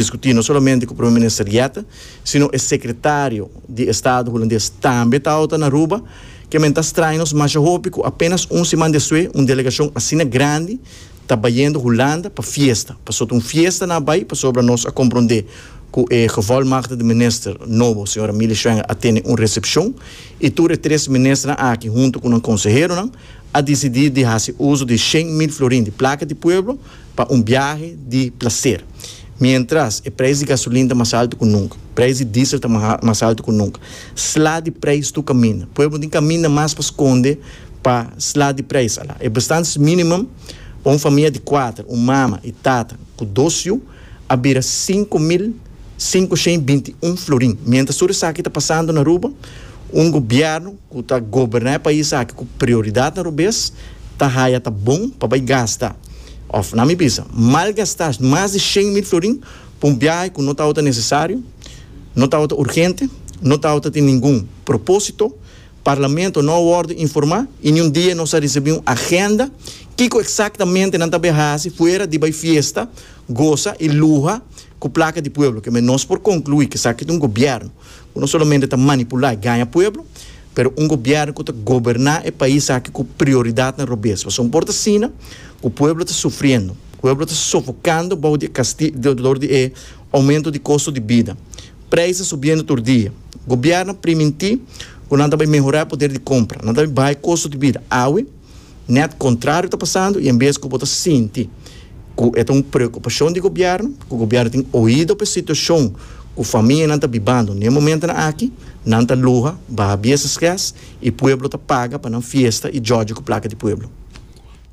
Diskutí no solamente ku Prome Minister Jette, sino e Sekretario di Estado Hulandes tambe tabata na Aruba, ke men ta straña nos masha hopi ku apenas un siman despues un delegashon asina grandi ta bayendo Hulanda pa fiesta. Pasobra ta un fiesta nan a bai pasobra nos a komprondé ku e Gevolmachtigde Minister nobo, señora Milly Schwengle a tene un resepshon i tur e tres ministernan aki hunto ku nan konseheronan a disidí di hasi uso di 100,000 florin di plaka di pueblo pa un biahe di placer. Mientras e prijs di gasolin ta mas alto cu nunca, prijs di diesel ta mas alto cu nunca. Sla di prijs tur caminda. Pueblo no tin caminda mas pa sconde pa sla di prijs. Ala e bestaansminimum pa un famia di cuater, un mama y tata cu dos yu, a bira 5521 florin. Mientras tur esaki ta pasando na Aruba, un gobierno cu ta goberna e pais aki cu prioridadnan robes ta haya ta bon pa bay gasta of na mi bisa malgasta mas di 100,000 florin pa un biahe cu no tabata necesario, no tabata urgente, no tabata tin ningun proposito. Parlamento no a wordo informa y ni un dia nos a ricibi un agenda kico exactamente nan ta bay haci fuera di bay fiesta, goza y luha cu placa di pueblo. Keme nos por conclui cu esaki ta un gobierno cu no solamente ta manipula y gaña pueblo, pero un gobierno cu ta goberna e pais aki cu prioridadnan robes. Pasobra un por ta asina cu pueblo ta sufriendo, pueblo ta sofocando bou di e casti dor di e aumento di costo di bida. Prijs ta subiendo tur dia. Gobierno a priminti cu nan ta bay mehora e poder di compra, nan ta bay baha e costo di bida. Awe, net contrario ta pasando y en bes cu bo ta sinti cu e ta un preocupacion di gobierno, cu gobierno tin oido pa e situacion cu famianan ta bibando n'e momentonan aki, nan ta luha, baha bies esges y pueblo ta paga pa nan fiesta y djodje cu placa di pueblo.